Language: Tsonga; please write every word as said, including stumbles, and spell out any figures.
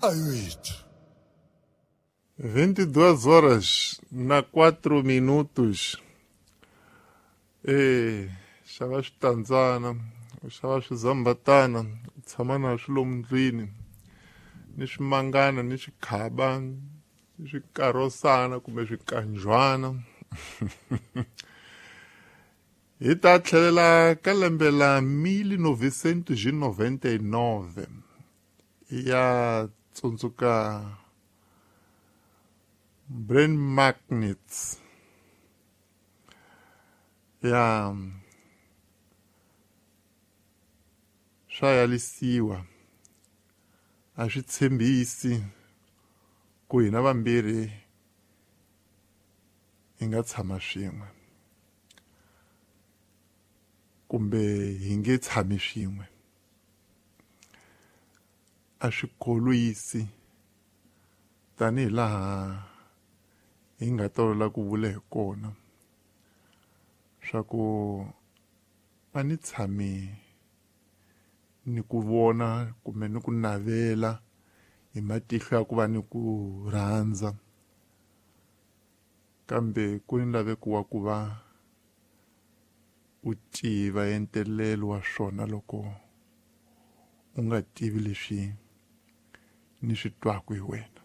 Ayoethu. vinte e duas horas na quatro minutos. Eh, xava switandzana, u xava swizambatana, u tshama na swi lomu ndlwini, ni swimangana, ni swikhaba, ni swikarosana kumbe swikanjwana. Hi ta tlhelela ka lembe la mil novecentos e noventa e nove ya tsundzuka Brain Magnets ya swa yalisiwa a swi tshembisi ku hina vambirhi hi nga tshama swin'we kumbe hi nge tshami swin'we. A swi kholwisi tanihi laha hi nga tolovela ku vula hi kona swa ku a ni tshami ni ku vona kumbe ni ku navela hi matihlo ya ku va ni ku rhandza, kambe ku ni laveko wa ku va u tiva entelelo wa swona loko u nga tivi leswi ni swi twaka hi wena.